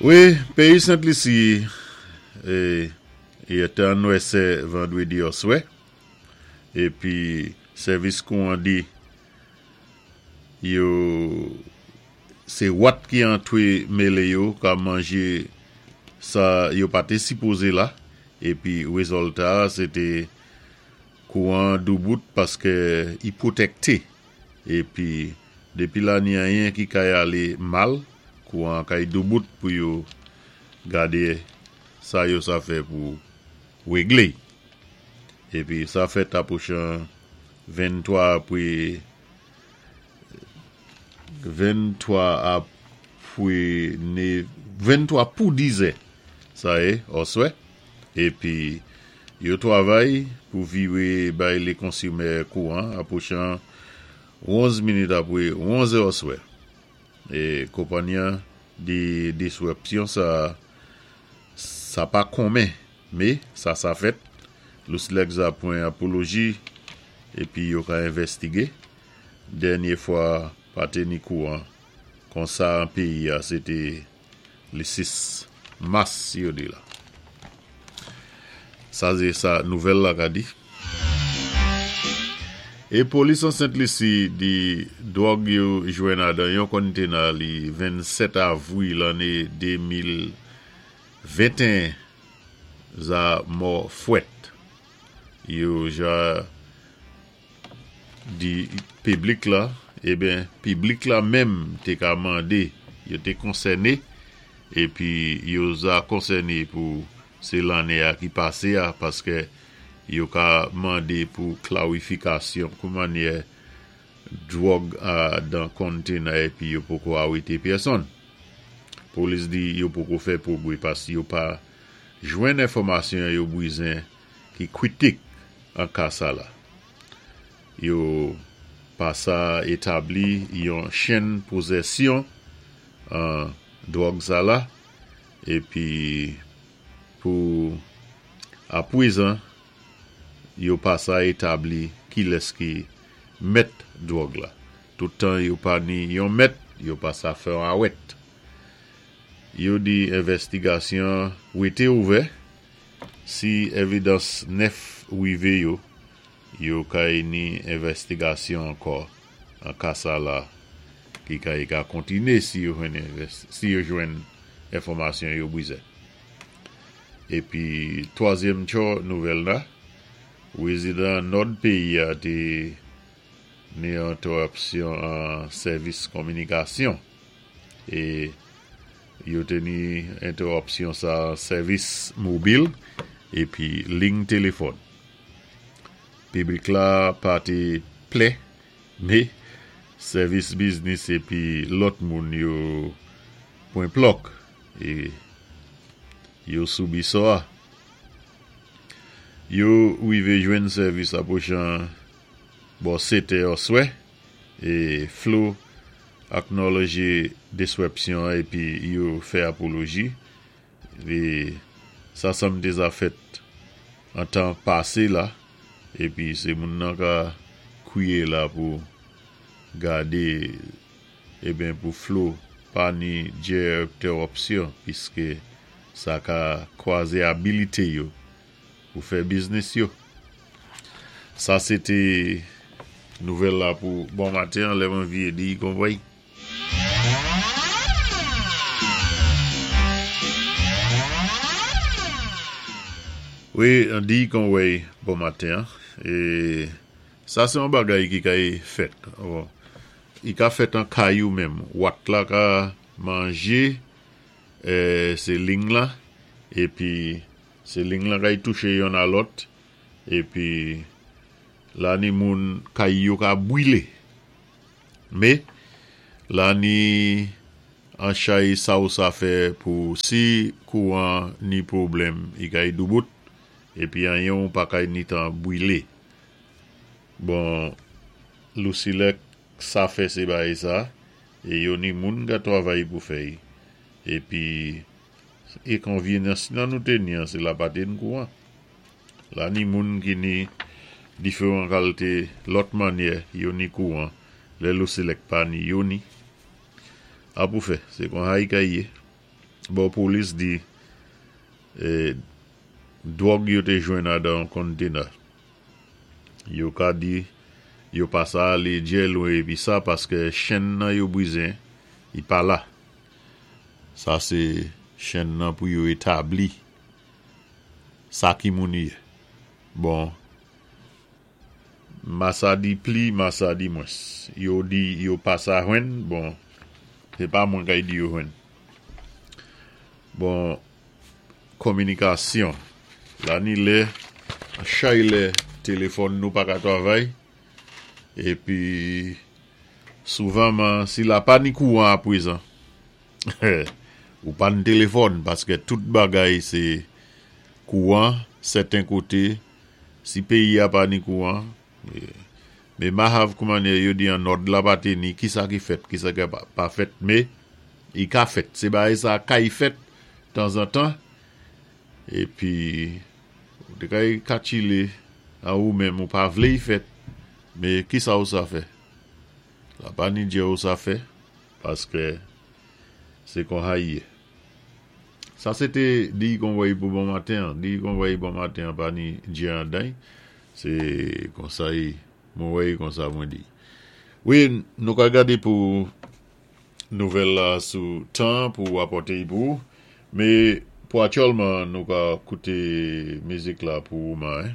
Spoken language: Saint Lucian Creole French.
Wi, péyi Sent Lisi é té an nwèsè vandwédi òswè, épi sèvis kouwan di yo sé wat ki antwé mélé yo ka manjé sa yo pa té sipozé la, épi wézòlta sé té kouwan doubout paskè i pwotèkté. Épi dépi la ni anyen ki kay alé mal, kouwan kay doubout pou yo gadé sa yo sa fè pou wéglé. Épi sa fèt apwochan 23 apwé 23 apwé né 23 pou dizè sa yé òswè. Épi yo twavay pou viré bay lé konsimè kouwan apwochan 11 minit apwé 11 è òswè. É konpanyi-an di diswèpsyon sa sa pa konmen mé sa sa fèt Lousilèk za pwan apoloji épi yo ka envèstigé. Dènyé fwa pa té ni kouwan konsa an péyi-a sé té lé 6 mas yo di la. Sa sé sa nouvèl la ka di. É polis an Sent Lisi di dwòg yo jwenn adan yon konnténa li 27 avwi lanné 2021 za mò fwèt. Yo ja di piblik la, eben piblik la menm té ka mandé yo té konsèné épi yo za konsèné pou sé lanné a ki pasé a paskè yo ka mandé pou klarifikasyon kou mannyè dwòg a dan konnténa épi yo poko arété pèsonn. Polis di yo poko fè pwogwé pask yo pa jwenn enfòmasyon yo bwizen ki kwitik an ka sa la. Yo pa sa établi yon chenn pozèsyon an dwòg sa la épi pou apwézan yo pa sa établi kilès ki mèt dwòg la. Tout tan yo pa ni yon mèt, yo pa sa fè yon awèt. Yo di envèstigasyon wété ouvè, si évidans nèf wivé yo, yo kay ni envèstigasyon ankò an ka sa la ki kay ka kontiné si yo jwenn si yo jwenn enfòmasyon yo bwizè. Épi twazyèm tchò nouvèl la, pwezidan nòd péyi a té ni entèripsyon an sèvis konminikasyon. E yo té ni entèripsyon sa sèvis mobil épi lign téléfòn. Piblik la pa té plè mé sèvis biznis épi lòt moun yo pwan plòk é yo soubi sò a. Yo wivé jwenn sèvis apwochan bò 7 è òswè é Flo aknòlòjé diswèpsyon an épi yo fè apoloji é sa sanm té za fèt an tan pasé la épi sé moun nan ka kwiyé la pou gadé eben pou Flo pa ni djètèròpsyon piské sa ka kwazé abilité yo pou fè biznis yo. Sa se te nouvèl la pou bon maten an lè mwen vye di konvway. Wi, an di konvway bon maten an. E sa se yon bagay ki kay fèt. I ka fèt an kay ou menm. Wat la ka manje se ling la epi Se ling lan kay touché yonn a lòt épi la ni moun kay yo ka bwilé. Mé la ni an chay sa ou sa fè pou si kouwan ni pwoblèm i kay doubout épi anyen ou pa kay ni tan bwilé. Bon Lousilèk sa fè sé bagay sa é yo ni moun ka twavay pou fè y épi Enkonvyenyans nan nou té ni an sé la pa té n kouwan. La ni moun ki ni diferan kalté lòt mannyè yo ni kouwan lè Lousilèk pa ni yo ni. A pou fè, sé kon ha i kay yé. Bon polis di dwòg yo té jwenn adan yon konnténè. Yo ka di yo pa sa alé djè lwen épi sa paskè chenn nan yo bizen i pa la. Sa sé chenn nan pou yo établi sa ki moun i yé. Bon ma sa di pli ma sa di mwens. Yo di yo pa sa jwenn bon sé pa mwen kay di yo jwenn. Bon kominikasyon la ni lè chay lè telefòn nou pa ka travay épi souvanman si la pa ni kouwan aprezan ou pa ni telefòn paskè tout bagay sé kouwan sèten koté si péyi a pa ni kouwan mé ma hav kouman yo di an nòd la pa té ni kisa ki fèt kisa ki pa fèt mé i ka fèt sé bagay sa kay fèt tanzantan épi ou té kay katchilé an ou menm ou pa vlé i fèt mé kisa ou sa fè la pa ni djè ou sa fè paskè sé konsa i yé. Sa sé té diy kon wèy pou bon maten an. Diy kon wèy bon maten an pa ni djè andan y. Sé konsa y mwen wè y konsa mwen di. Wi nou ka gadé pou nouvèl la sou tan pou apòte y pou ou. Mé pou atyèlman nou ka kouté mizik la pou ou man.